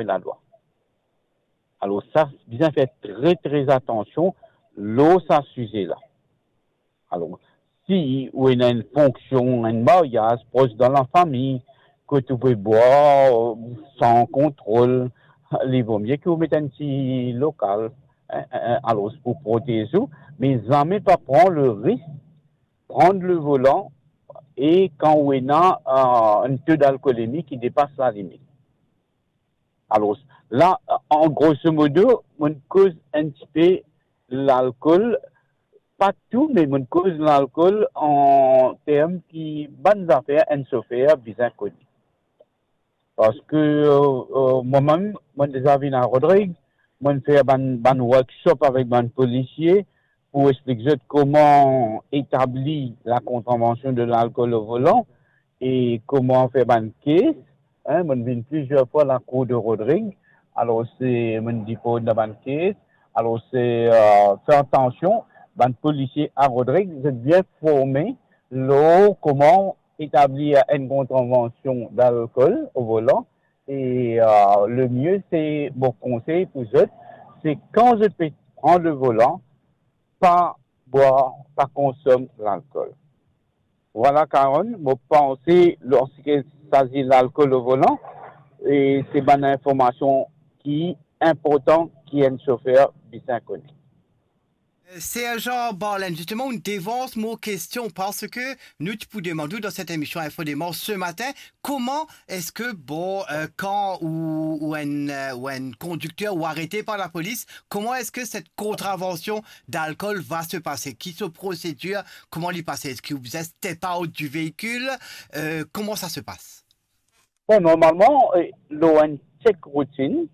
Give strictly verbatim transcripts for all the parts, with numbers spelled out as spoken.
lalwa. Alor sa, bizin fer tre, tre atansion lor sa size la. Alor, si ou ena enn fonksion, enn maryaz pros dan lafami, kot ou pe bwar san kontrol, li vo mie ki ou met enn ti lokal, en, en, en, alor pou protez ou, me zame pa pran le risk, pran le volan, e kan ou ena, eh, enn to dalkolemi ki depas lalimit. Alor, la, an groso modo, mo'nn koz enn tipe lalkol, pa tou, me mo'nn koz lalkol an term ki bann zafer enn sofer bizin kone. Parski, eh, eh, mwa mem, mo'nn deza vinn a Rodrig, mo'nn fer bann, bann workshop avek bann polisie pou explik zot kouma etabli la contravention de l'alcool au volant e kouma fer bann kes. En, mo'nn vinn plizier fwa lakour de Rodrig. Alor se, mo'nn dipoz dan bann kes. Alor se, eh, fer atansion, bann polisie a Rodrig, zot bien forme lor kouma etabli enn contravention d'alcool au volant. E, eh, le mie, se, mo konsey pou zot, se kan zot pe pran le volan, pa bwar, pa konsom lalkol. Vwala, Karen, mo panse lor seki sazi lalkol o volan, e se bann informasion ki inportan ki enn sofer bizin kone. Serjan Barlen, zisteman, ou devans mo kestion, parski nou ti pou demann ou dan set emision Info Demars se matin, kouma eski, bon, eh, kan ou, ou enn, eh, ou enn kondikter ou arete par lapolis, kouma eski set contravention d'alcool va se pase? Ki so prosedir? Kouma li pase? Eski ou bizin step out du véhicule? Eh, kouma sa se pas? Bon, normalman, eh, lor enn check routine,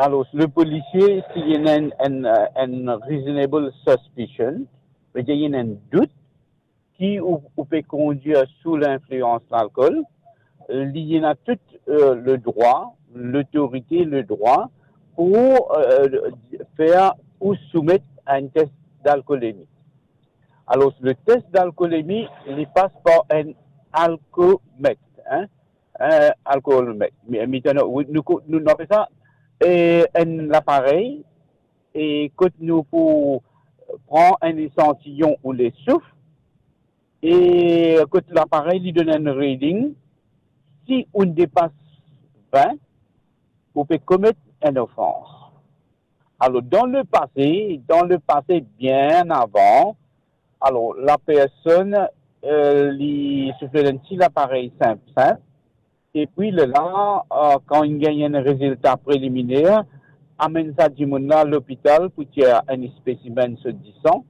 alor, le polisie, si li ena enn, enn, eh, enn reasonable suspicion, vedir li ena enn dout ki ou, ou pe kondir sou linflians lalkol, li ena tou, eh, le drwa, lotorite, le drwa pou, eh, fer ou soumet a enn tes dalkolemi. Alor, le tes dalkolemi, li pas par enn alkomet, en, enn alkomet. Me, me, nou, nou, nou, nou apel sa, eh, enn laparey, e kot nou pou pran enn esantiyon ou lesouf, e kot laparey li donn enn reading, si ou depas vin, ou pe komet enn ofans. Alor, dan lepase, dan lepase, bien avan, alor, lapersonn, eh, li soufle enn ti laparey sinp, sinp, epi lerla, eh, kan inn gagn enn rezilta preliminer, amenn sa dimoun la lopital pou tir enn spesimenn so disan,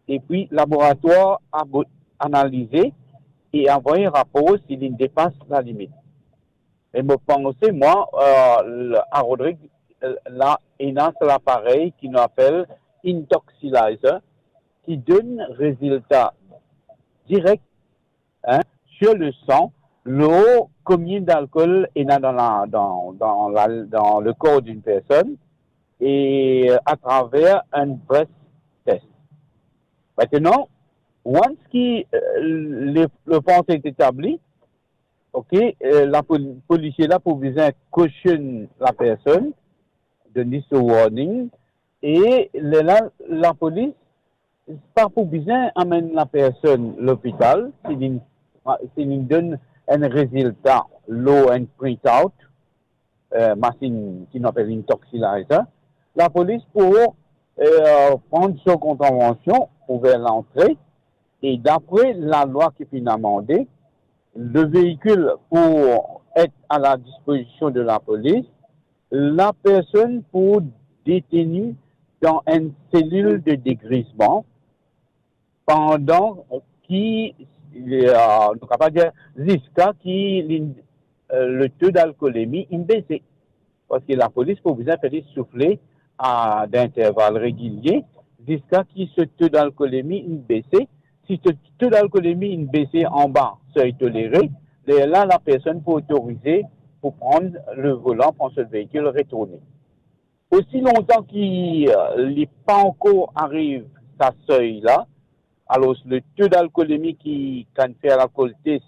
epi laboratwar abo-, analize e anvoy rapor si li depas lalimit. E mo panse, mwa, eh, l-, a Rodrig, eh, la, ena sa laparey ki nou apel intoxilyzer, ki donn rezilta direk, en, sur le sang, lor konbien dalkol ena dan la, dan, dan la, dan le kor d'une personne, e atraver enn breath test. Aster, once ki, eh, le, lofans est établi, ok, eh, lapol-, polisie la pou bizin caution lapersonn, donn li so warning, e lerla lapolis pa pou bizin amenn lapersonn lopital, si li, si li donn enn rezilta lor enn printout, eh, masinn ki nou apel intoxilyzer, lapolis pou, eh, pran so kontravansion, ouver lantre, e dapre lalwa ki finn amande, le véhicule pour être à la disposition de la police, lapersonn pou deteni dan enn selil de degrizman pandan ki, eh, nou kapav dir, ziska ki li, eh, le to dalkolemi inn bese. Parski lapolis pou bizin fer li soufle a, dan interval regilie, ziska ki so to dalkolemi inn bese. Si to, to dalkolemi inn bese anba sey tolere, lerla lapersonn pou otorize pou pran le volan, pran so veikil, retourne. Osi lontan ki, eh, li pa ankor ariv sa sey la, alor le to dalkolemi ki kan fer lalkol test